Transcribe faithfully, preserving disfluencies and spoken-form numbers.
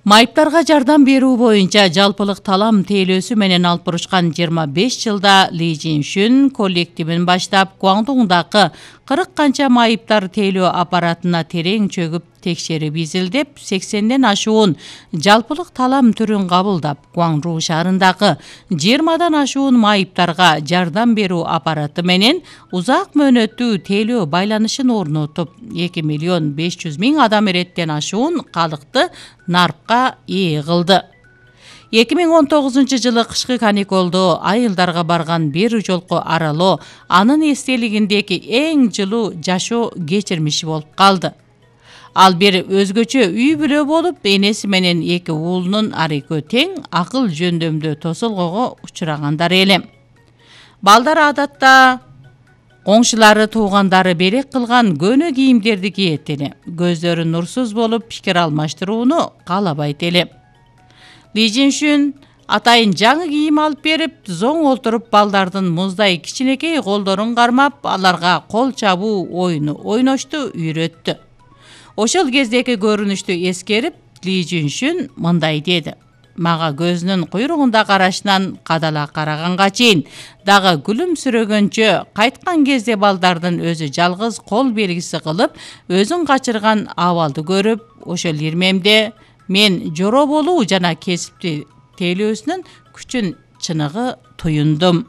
Майыптарга жардам берүү боюнча жалпылык талам тейлөөсү менен алып бурушкан жыйырма беш жылда Ли Жиншүн коллективин баштап, Гуандуңдагы кырк канча майыптар тейлөө аппаратына терең чөгүп текшерип изилдеп, сексенден ашуун жалпылык талам түрүн кабылдап, Гуаңжу шаарындагы жыйырмадан ашуун майыптарга жардам берүү аппараты менен узак мөөнөттүү тейлөө байланышын орнотуп, эки миллион беш жүз миң адам эреттен ашуун калыкты нарпка ээ кылды. эки миң он тогузунчу жылы кышкы каникулду айылдарга барган бир жолку аралоо анын эстелигиндеги эң жылуу жашоо кечирмиши болуп калды. Ал бир өзгөчө үй бүлө болуп, энеси менен эки уулунун ар экөө тең акыл жөндөмдө тосолгоого учурагандар эле. Балдар адатта коңшулары, туугандары берек кылган көнө кийимдерди кийет эле. Көздөрү нурсуз болуп, пикир алмаштырууну каалабайт эле. Ли Жиншүн атайын жаңы кийим алып берип, зоң олтуруп балдардын муздай кичинекей колдорун кармап, аларга кол чабуу оюну ойношту үйрөттү. Ошол кездеги көрүнүштү эскерип, Ли Жиншүн мындай деди: "Мага көзүнүн куйругунда карашынан кадала караганга чейин дагы күлүмсүрөгөнчө, кайткан кезде балдардын өзү жалгыз кол белгиси кылып, өзүн качырган абалды көрүп, ошол ирмемде мен жоро болуу жана кесипти тейлөөсүнүн күчүн чыныгы туюндум."